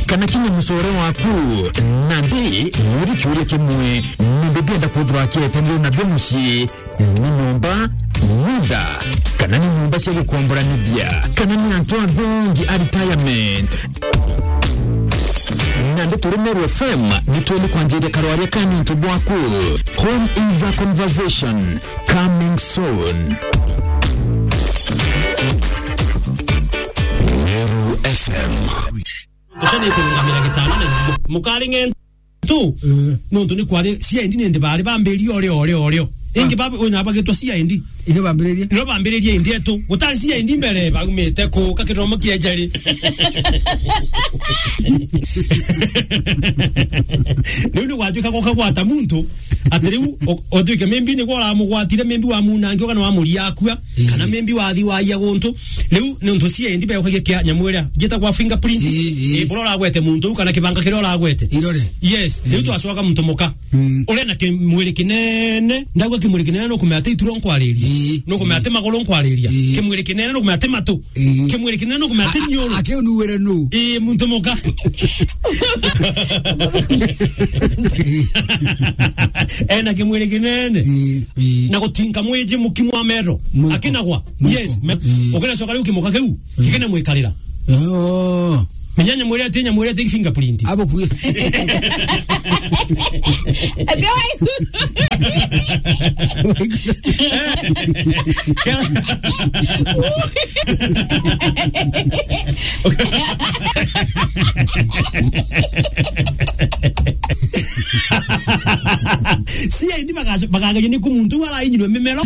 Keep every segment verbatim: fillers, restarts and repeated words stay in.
kana kinya mucore waku. Nandi, muri kiuria kimwe, mundu ndienda kwithirwa akietanirwe na bi mucii, ni nyomba, nyunda, kana ni nyomba cia gukomboranithia, kana ni antu athongi a retirement. Nandi turi Meru F M, ni twende kwanjiria karwaria ka nontu bwaku. Home is a conversation. Coming soon. Meru F M. Tusha ni kurungamira gitana na iguru. Mukari ngentu. Mm. Nontu ni kwari C I D ni ndi bari bambiririe orio, orio, orio. Ingi, ah, baba, ona bagitwa C I D. Ino bambiririe? Nio bambiririe indi etu. Gutari C I D mbere, baumite ku, ka kithomo kia njari. Riu ni gwatuika gukagwata muntu, ati riu o-, otuike maybe nigwe uramugwatire, maybe wamunangia kana wamuria akua, ii, kana maybe wathi waia guntu. Riu ni untu C I D beukagia kia nyamu iria njitagwa fingerprint. Ii, ii. Ii, buria uragwete muntu u kana kibanga kiria uragwete. Irore. Yes, riu, ii, twacoka muntu muka. Mm. Uria na kimwiri kinene, ndauga kimwiri kinene nukumenya ati ituro nkwariria. Ii. Nukumenya ati maguru nkwariria. Ii. Kimwiri kinene nukumenya ati matu. Ii. Kimwiri kinene nukumenya ati niuru. Akiu nuwire nu? Ii, muntu muka. Ena kimwiri kinene. Ii, ii. Na gutinka mwiji mukimu wa mero. Mwiko. Akinagwa. Mwiko. Yes. Me-, ii, ukinacoka riu kimuka kiu, ii, kikina mwikarira. Oh. Menya nyamu iria ati, nyamu iria ati fingerprint. Abo kwi. Ati wai. C I D bagac-, bagageria ni ku muntu u arainyirwe mimero.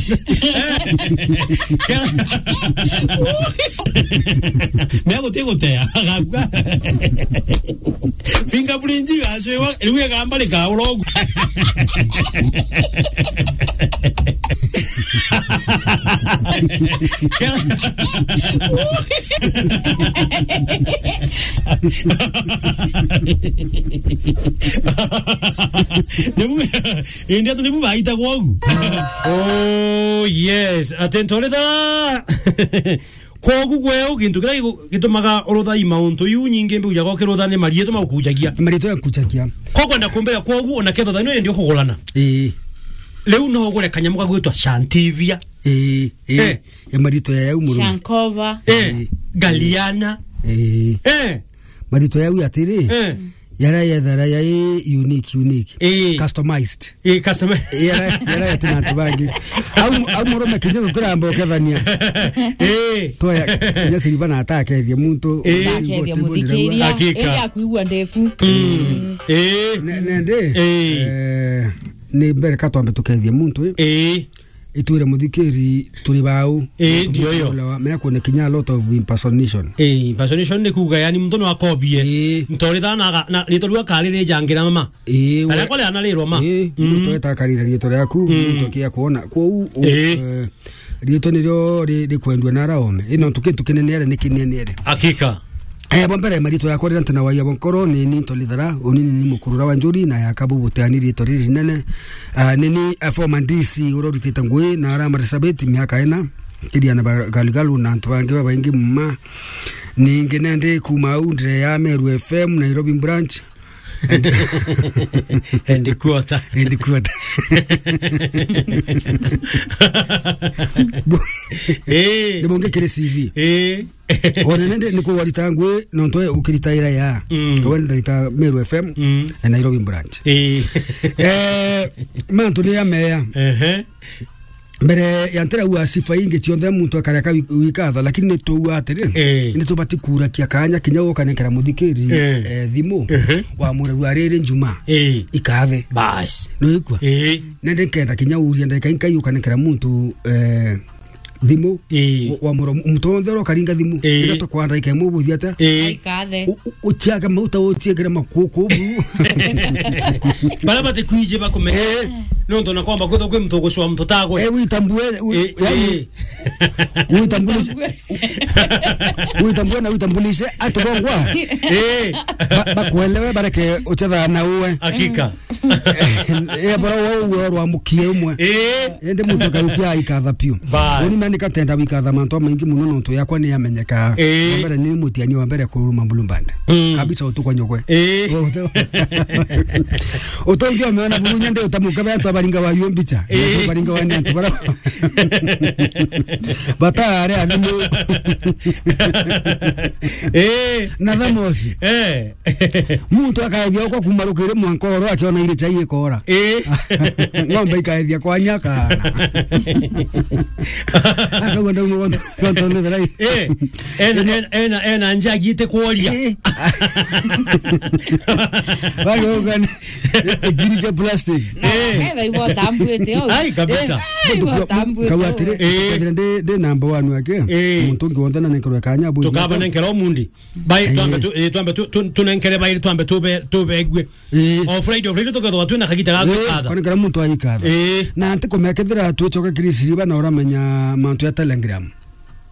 Mea guti gutea, agakua. Fingerprint igacwiwa, riu igamba rikaura uguo. Nibu, indi atu nibu baitagwa ugu. Oh, yes. Ati ntoritha. Kwogu gweu, gintu kiria gigu-, gitumaga urutha i mauntu iu nyingi mbiujaga ukirutha ni mariitwa magukujagia. Mariitwa yakujagia. Ko kwenda kumbira kwogu, ona ketho thaino indi ukugurana. Ii. Riu no ugure kanyamu gagwitwa Shantivia. Ii, ii. Eh. E mariitwa ya yau murume. Shankova. Eh. Ii. Galiana. Ii. Eh. Mariitwa yau atiri. Eh. Yara yethara ya i unique, unique. Ii. Customized. Ii, customer. Yara, yara ya tina antu bangi. Au, au murume kinya tutiramba ukethania. Ii. Toya, kinya siriba na atakethia muntu. Ii. Ndakethia muthikiria. Hakika. Indi akuigua ndeku. Mm. Ii. Ne-, nende, ii, eh, ni mbere ka twambe tukethie muntu, ii. Ii. Itwire muthikiri turi bau. Ii, ndio yo. Mea kuone kinya a lot of impersonation. Ii, impersonation ni kuuga, yani, muntu no akobie. Ii. Ntoritha na aga-, na riitwa riu akaririjangira mama. Ii, we-, aria kwari anarirwa ma. Ii, mm, muntu eta akarira riitwa riaku, mm, muntu akia kuona. Kwou, u-, ii, eh, riitwa nirio ri-, rikwendua na araome. Ino ntu kintu kinene are ni kinene are. Hakika. Eh, bwa mbere, mariitwa yakwa riria ntina waia bwa nkoro, ni ni Ntolithara, unini ni mukurura wa njuri, na yaka bubuteani riitwa riri rinene. Ah, ni ni, eh, former D C uria uritite ngui na ara Marsabit miaka ina, Kiriana ba-, Galigalu na antu bangi babaingi mma. Ningi nendi kuma au ndire ya Meru F M, Nairobi branch. Headquarter. Headquarter. Bu-, eh, ni bungi kiri C V. Eh. Ona nende ni kugwarita ngui, nontu we ukiritaira ya. Mm. Kawe ndarita Meru F M, mm, e Nairobi branch. Eh. Eh, mantu ni ya meya. Ehe. Mbere ya ntirauga sifa ingi cionthe muntu akareka wi-, wikatho, lakini ni tuuga atiri, eh, ni tubati kurakia kanya kinya ukanengera muthikiri, eh, eh, thimu, ehe, wa murerua riri njuma, eh, ikathe. Bas. Nwigua? Eh. Nende nkenda kinya uria ndagika inkai ukanengera muntu, eh, thimu, ii, wa, wa muro, muntu wonthe uria ukaringa thimu, ii, ira tukwa ndagika imwe ubuthi atia? Ii. Aikathe. U-, u-, uciage mauta, uciekere makuku buru. Bara batikwiji bakumenya. Ii. Nontu na kwamba kwithwa kwi muntu ugucwa muntu tagwe. Eh, witambue, wi-, Eh, yani, eh. Witambulise. Witambue na witambulise, atubongwa. Eh. Ba-, bakuelewe, bareke uchetha na uwe. Hakika. Eh, bora uwe uwe rwa mukie umwe. Eh. Indi muntu akaukia aikatha piu. Bas. Uni mani katenda wikatha mantu amaingi muno nontu yakwa ni yamenyeka. Eh. Wa mbere ni mutiani wa mbere kuruma Blue Band. Mm. Kabisa utukwa nyogwe. Eh. Utu-, utungi omeona buru nyende utamuka beto baringa wa yo mbicha. Eh. Baringa wa ni antu bara. Batare athimu. Eh. Na thamosi. Eh. Muntu akaethia okwa kuma rukiri mwanka oro akiona ile chai ikora. Eh. Ng'ombe ikaethia kwa nyaka. Akauga ndauga gonto, gonto ni thirai. Eh. Ena, ena, ena, ena nja agiite kworia. Eh. Bageuka ni, eh, ngiri cia plastic. Na Eh. Metha ibo tambuite o. Ai, kabisa. Eh, Ai, ibo tambuite kau o. Atiri, Eh. kethira ndi, ndi number one wake, Eh. muntu ungi wonthe na nenkerwe kanya bu. Tukaba nenkera umundi. Bai, Eh. twambe tu, eh, twambe tu, tu, tunenkere bairi twambe tube, tubegue. Eh. O Friday, o Friday tukethwa twina kagita ga Eh, gwikatha. Kone kira muntu aikatha. Eh. Na ntikumea kethira twicoka kiri siriba na uramenya mantu ya Telegram.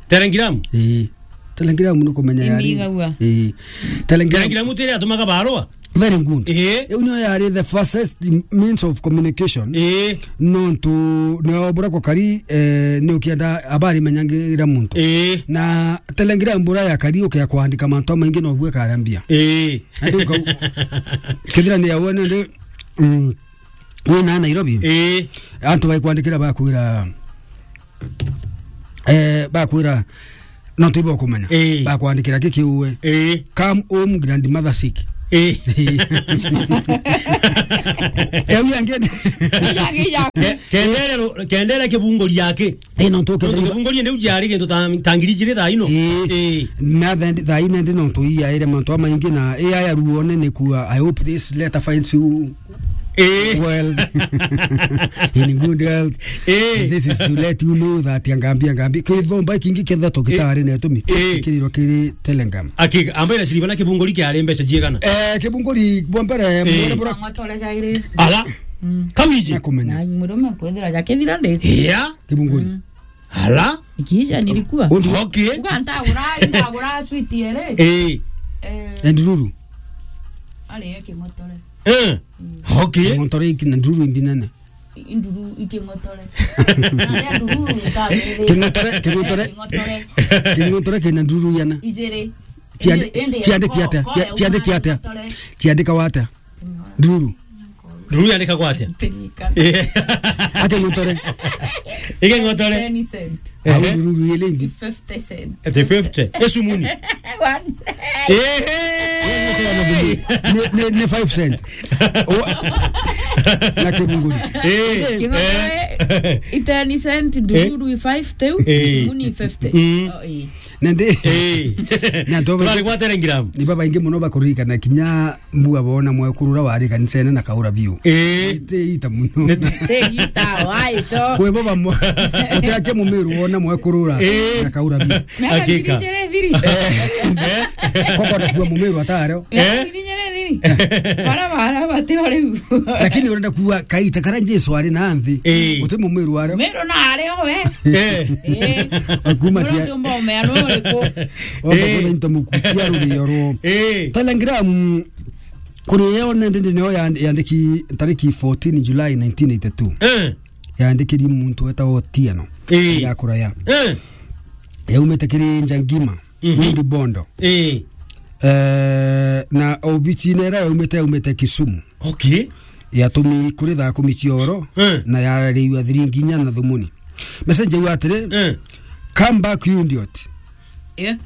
Telegram? Eh. Telegram ni kumenya yari. Imigagua. Eh. Telegram. Telegram tiri atumaga barua? Very good. Eh. Iu niyo yari the fastest means of communication. Eh. Nontu nio bura kukari, eh, ni ukienda habari menyangira muntu. Eh. Na Telegram bura ya kari ukia kwandika mantu maingi no bwe karambia. Eh. Andi uka-, kethira ni ya wene ndi, mm, wina Nairobi. Eh. Antu baikwandikira bakwira, eh, bakwira, no tibo kumenya. Eh. Bakwandikira ki kiuwe. Eh. Come home, grandmother sick. Eh. Eu yange. Yange ya. Ke-, kendere ro-, kendere kibunguri yake. Eh, no ntu Nontu kethira kibunguri ndi ujari gintu ta, ta ngiri ijiri thaa ino. Eh. Eh. Na then thaa ino ndi no ntu iyaire mantu amaingi na iya ya ruone ni kuwa, I hope this letter finds you Eh. Well, in good health. Eh. This is to let you know that ya ngambia, ngambia. Kithomba kingi ketha tukitari Eh. na tumi. Eh. Kiriro kiri Telegram. Akiga, ambaira siriba na kibunguri kiari mbeca jiegana? Eh, kibunguri bwa mbere, Eh. mwere bura Ng'otore jairi. Ala. Mm. Kawiji. Nakumenya. Na murume kwithira jakithira ndi. Yeah. Kibunguri. Mm. Ala. Ikiisha nilikuwa. Undi Okay. Uga ntagura, ntagura sweet yere. Eh. Eh. And Ruru. Ari yake Ng'otore. Eh. Okay. Ng'otore iki na Nduru imbi nene. Nduru iki Ng'otore. Na ya Nduru ikabere. King'otore, King'otore. Eh, King'otore. King'otore kina Nduru yana. Ijere. Ciandi-, Ende, ende, ciandiki ko-, atia? ko-, Cia-, ciandiki atia? Ng'otore. Ciandika wata? Nduru. Nduru yandikagwa atia? Tinika. Eh. Ake Ng'otore. Ike Ng'otore. Ten cent. Au Ehe. Nduru ile ingi. Fifty cent. Ati fifty. Esumuni. One cent. Ehe. Ni, ni, ni five cent. O-, na kibunguri. Eh. King'otore, Eh. i ten cent, nduru i five teu, Eh. muni fifty. Mm. Oh, eh. Na ndi-, Eh. na ntobe Twari gwa Telegram. Ni babaingi muno bakuririkana kinya mbua bona mwekuru uria wari kanisene na kaura biu. Eh. Ite ita muno. Nete. Te ita, why so? Kwe baba mo-, utiache mumiru wona mwekuru ura Eh. na kaura biu. Miaka Hakika. ngiri ijiri ithiri. Eh. Koko na kuwa mumiru atareo. Miaka Eh. ngiri ijiri ithiri. Bara, bara, bati o riu. Lakini urenda kuwa kaita kara Jesu ari na nthi. Eh. Uti mumiru areo. Miru na areo we. Eh. Eh. Akuma Muno tia- tumba umea no riku. Wamba Eh. kwona into mukutia rurio ruo. Eh. Telegram, kuri yo nende ndio yand-, yandiki tariki fourteen July nineteen eighty-two. Eh. Yandikiri muntu wetagwo Otieno. Eh. Ya kuraya. Eh. Yaumite kiri Njangima, Mhm. Rundi Bondo. Eh. Eh, na obici nera yaumite, yaumite Kisumu. Okay. Yatumi kuri thaa kumi cia oro, Eh. na yarariwa thiringi inya na thumuni. Message yau atiri, Eh. "Come back, you idiot." Yeah.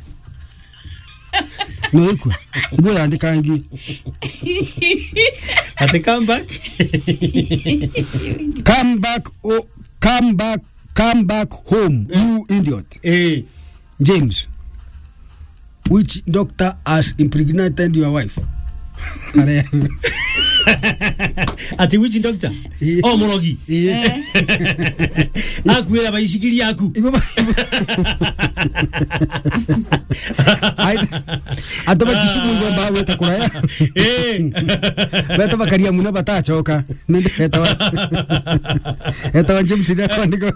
No ikwe. Ibo yandika ngi. Ati come back. "Come back, oh, come back, come back home, Eh. you idiot." Eh. James, which doctor has impregnated your wife? Are- Ati witch doctor? Eh. O murogi. Eh. Eh. Akwira baicikiri yaku. Ibo ba-, ai, antu ba Kisumu ibo ba gweta kuraya. Eh. Beta bakaria muno batacoka. Nende etawa, etawa James ndio kwandika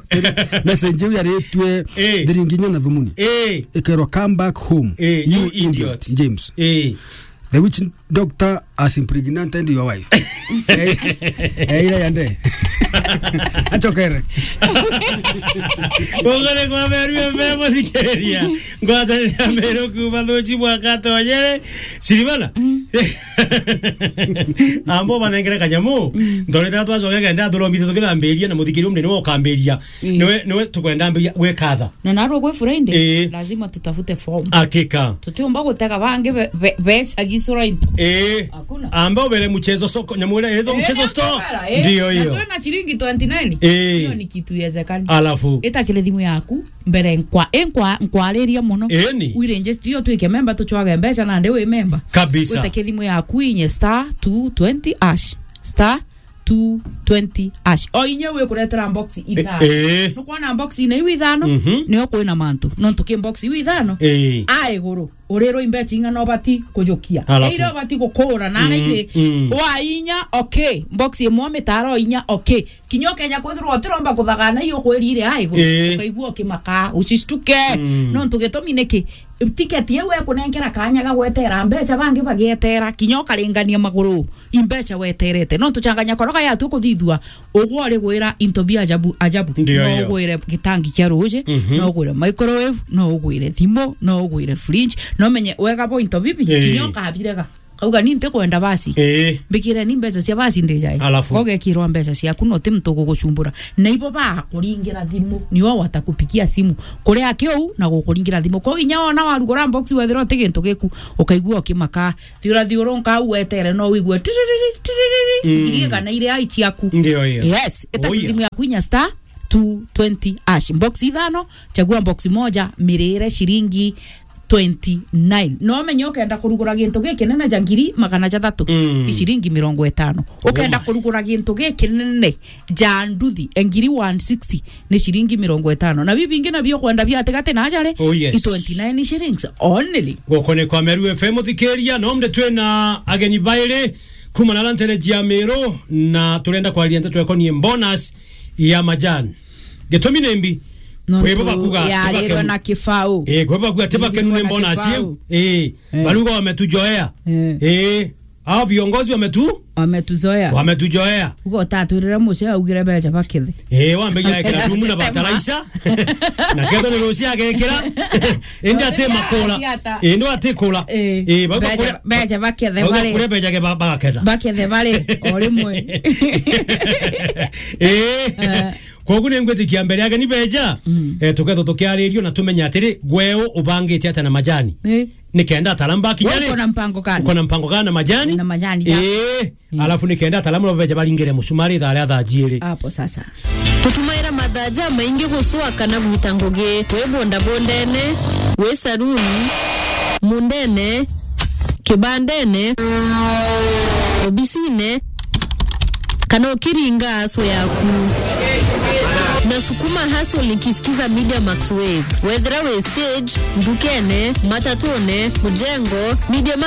message iu yaritwe, eh, thiringi inya na thumuni. Eh. Ikerwa, "Come back home, eh, you, you idiot, idiot, James." Eh. The witch doctor has impregnated your wife. Eh, eh, ira yande. Achokere. Ugore kwa Meru F M, muthikiriria. Ngwatanira Meru kuma thuchi mwaka tonyere. Siribana. Ambo banengere kanyamu. Mm. Ndorete twacoke kenda turombithe tukirambiria na muthikiri umne niwe ukambiria. Mm. Niwe, niwe tukwenda mbiria gwikatha. Na narua gwi Friday, eh, lazima tutafute form. Hakika. Tutiumba gutega bangi be-, be-, beca gisura into. Eh. Hakuna. Amba ubere mchezo soko, nyamu iria iretwo, eh, mchezo store. Ndio hiyo. Na twina shilingi twenty nine. Eh. Hiyo ni kitu yezekani. Alafu. Itakire thimu yaku, mbere nkwa-, inkwa-, nkwariria muno. Eni. Uiregister, iyo twike memba, tuchwage mbeca nandi wi memba. Kabisa. Wite kithimu yaku inye star two twenty hash. Star two twenty hash. O inya wi kuretera box ithano. Eh. Nukwona box ina iu ithano, mhm, nio kwina mantu. Nontu ki box iu ithano? Eh. A iguru, urirwa imbecha ing'ana ubati kujukia. Alafu. Ira ubati gukura na, mm, iri, mm, wa inya, okay. Box imwe mitaro inya, okay. Kinya ukenya kwithirwa utiromba kuthagana iyo kwirire a iguru. Eh. Ukaigua ukimaka, ucistuke. Mm. Nontu gitumi niki? Ticket iu ekunenkera kanya ga gwetera mbecha, bangi bagietera, kinya ukaringania maguru, imbecha weterete. Nontu changanya koroga yatu kuthithua, ugwe uri gwira into bia ajabu, ajabu. Ndio, no hiyo. Ugwire gitangi kia ruji, mhm, no ugwire microwave, no ugwire thimu, no ugwire fridge, no menye wega bo into bibi, eh, kinya ukabirega. Kauga, "Ni ntikwenda basi. Ii. Mbikireni mbeca cia basi ndijai." Alafu? Kogekirwa mbeca ciaku, no ti muntu ugugucumbura. Na ibo bakuringira thimu, nio watakupigia simu. Kuria kiu na gukuringira thimu. Kwou inya wona warugura box wethira uti gintu giku, ukaigua ukimaka. Thiura thiuru nkau wetere, no wigue tiririri, tiririri. Mm. Ngirie kana iria ai ciaku. Ndio hiyo. Yes, ita, oh, yeah, thimu yaku inya star two twenty hash. Box ithano, chagua box moja, mirire shilingi twenty nine. No menye ukenda kurugura gintu gikinene ja ngiri magana jathatu, mm, i ciringi mirongo itano. Ukenda, oh my, kurugura gintu gikinene ja nduthi, e ngiri one sixty, ni ciringi mirongo itano. Na bibi bingi nabio ukwenda bia atigati na ajari, oh, yes, i twenty nine shillings only. Gukone kwa Meru F M, uthikiria, no mde twina ageni bairi kuma na ntere jia Meru, na turenda kwariria nteto ekonie bonus ya majani. Gitumi ni mbi? Nontu kwibo bakuga, yarirwe tibakenu na kibau. Eh, kwibo bakuga tibakenu ni mbona siu. Eh, eh, baruga wametujoea. Eh. Eh, hao viongozi wametu? Wametuzoea. Wametujoea. Ugo tatwirire muce augire beca bakethe. Eh, wambe ya ekera thumu na bataraisa. Na ketho ni rucia agekira. Indi ati makora. Indi ati kora. Eh, eh, bauga beca, kure, beca bakethe bauga bari. Kure beca ke ba-, baketha. Bakethe bari, o rimwe. Eh. Eh. Koguo ni ngwitikia mbere ageni beja, mm, eh, tukethwa tukiaririo na tumenye atiri, gweu ubangite atia na majani? Eh. Nikenda ataramba kinya ri? Uko na mpango gani? Uko na mpango gani na majani? Na majani, ja. Eh. Mm. Alafu nikenda ataramu beja baringire musumari thaa ria thaa jiiri. Hapo sasa. Tutumaira mathaa jamaingi gucwa kana gwita ngugi. Wi bondabondene, wi saruni, mundene, kibandene, obisine, kana ukiringa aso yaku. Nasukuma hustle nikisikiza Media Max Waves. Wethira wi stage, ndukene, matatune, mujengo, Media Max